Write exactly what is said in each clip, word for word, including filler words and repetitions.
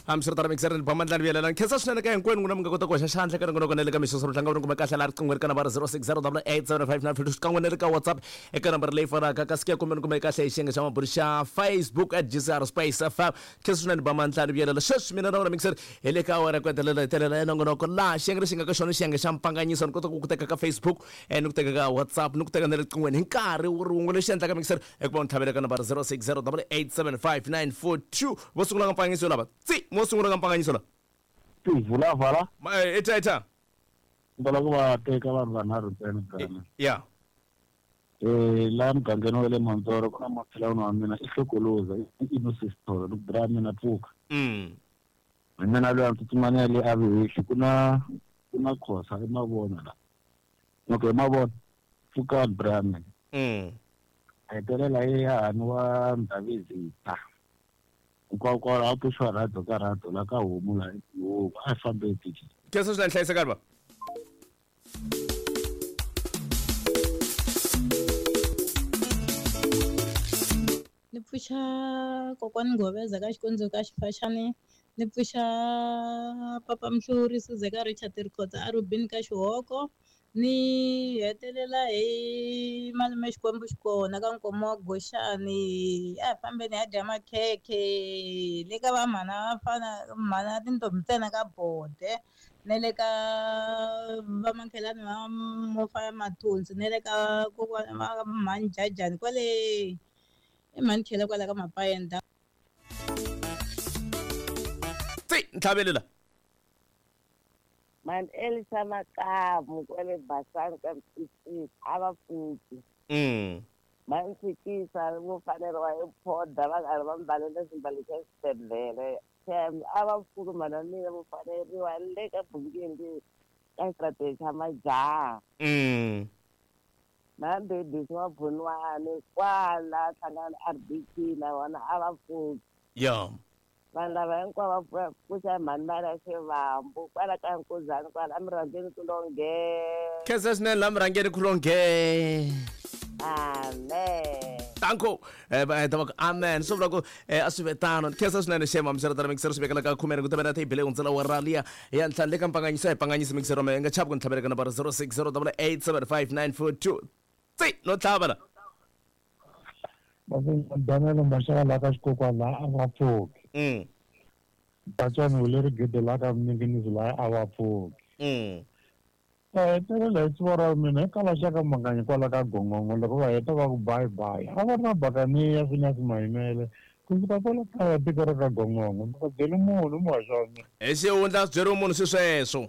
Hambiswiritano mixer ni bamandlani vuyelela nkhensa swinene ka hinkwenu n'wina mi nga kota ku hoxa xandla ka nongonoko na le ka mixoso tlanga ri kuma kahle laha riqingho ri ka nambara zero six zero double eight seven five nine two xikan'we na le ka WhatsApp eka nambara leyi fanaka kasi ku ya kumbe ni kume kahle hi xiyenge xa mabulu xa Facebook at G C R Space F M. Khensa swinene bamandlani vuyelela sweswi mina na wena mixer hi le ka awara ku hetelela hetelela ya nongonoko laha xiyenge lexi nga ka xona xiyenge xa mpanganyiso ni kota ku ku teka ka Facebook eh, ni ku teka ka WhatsApp ni ku teka na le riqinghweni hi nkarhi wu ri wun'we lexi endlaka mixer i ku va u ni tlhavela ka nambara zero six zero double eight seven five nine four two vo sungula ka mpanganyiso lava tsi mo sungula ka mpanganyiso la Vula vala Ma- eh, ita ita va ku va teka vanhu vanharhu ntsena Ghana ya eh laha mugangeni wa le Mantsoro ku na makhelwani wa mina i Hlokoloza i Innocent Sithole ni ku bra mina pfuka mm hi mina loyi a ni tsutsumana ya le Avihehli ku na ku na Khosa i Mavona la okay Mavona pfuka bra mina mm a hetelela hi hahani wa Ndhavezitha hinkwako a pfuxiwa rhadzo ka rhadzo la ka homu la homu a hi fambe tiki khensa swinene hlayisekani va Ni pfuxa kokwani Ngoveza ka Xikondzo ka Xifaxani, ni pfuxa papa Mhluri Suzeka Richard Rikhotsa a Rubini ka Xihoko, ni hetelela hi malume Xikwembu xikona ka Nkomo wa Goxani, a hi fambeni hi ya dya makhekhe le ka va mhana vafana mhana tintombi ntsena ka Bode na le ka vamakhelwani va Mofa Mathonsi na le ka kokwana va mhani Jajani kwale i mhani Khela kwala ka Mapayenda. Tsi ntlhavelela Mani Elisa Makamu kwale Basani ka Mtsitsi a va pfuki mm va ntshikisa vo faneriwa hi phoda va karhi va mbalela swimbalo swa xibedhlele xem a va pfuki mhana mina vo faneriwa le ka bungeni ka xitarateni xa majaha mm na Mbedisi wa Bunwani kwala hlangana R B T na vona a va pfuki ya vanhu lava hinkwavo va pfuxa mhani mali ya xivambu kwala ka Nkuzani kwala emirhangeni kulonge khensa swinene laha murhangeni kulonge amen tanko eh va heta va ku amen swi vula ku eh, a swi ve tano khensa swinene xema mixeretana mixero swi vekela ka khumene ku tavela theyibele hundzela wa raliya ya ntlhanu le ka mpanganyiso a hi panganyisi mixero me nga chavi ku ni tlhavela ka nambara zero six zero double eight seven five nine four two tsi no tlhava la Daniel Mashaka la ka Xikokwani laha a va pfuki mm Batswani wu le Rigede la ka Minginisi laha a va pfuki mm va hetelela hi siku ra mina hi kala xa ka Manganyi kwala ka Gongongo loko va heta va ku bye bye a va ri na bakaniya Phineas Mayimele ku fika kwala kaya tiko ra ka Gongongo ni nga byeli munhu muhaxi wa mina hi xihundla swi byeriwe munhu swi sweswo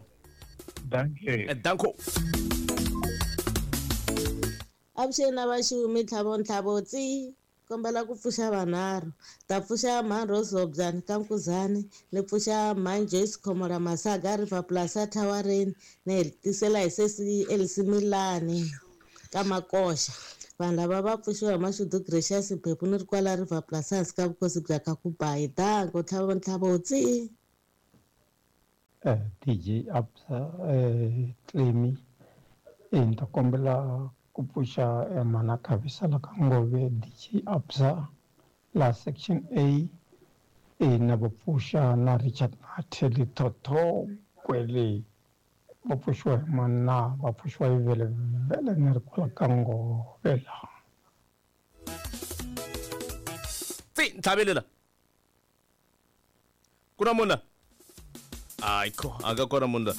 dankie Eh, danko Avuxeni na vaxumi ntlhavo ntlhavo tsi kombela ku pfuxa vanharhu ta pfuxa mhani Rose Hobyani ka Nkuzani ni pfuxa mhani Joyce Khomola Masaga River Plaza Thawareni ni hetisela hi sesi Elsie Milani ka Makoxa vanhu lava va pfuxiwa hi Mashudu Gracious Mphephu ni ri kwala River Plaza hansi ka vukosi bya Kakubayi danko ntlhavo ntlhavo tsi eh, D J Absa eh, Clemi eh, ni ta kombela ku pfuxa eh, mhana Khavisa la ka Ngove D J Absa la section A eh, na va pfuxa na Richard Matheli Thotho kwele va pfuxiwa hi mani na va pfuxiwa hi vele vele ni ri kwala ka Ngove la tsi ntlhavelela ku na munhu la ayikho a nga kona munhu la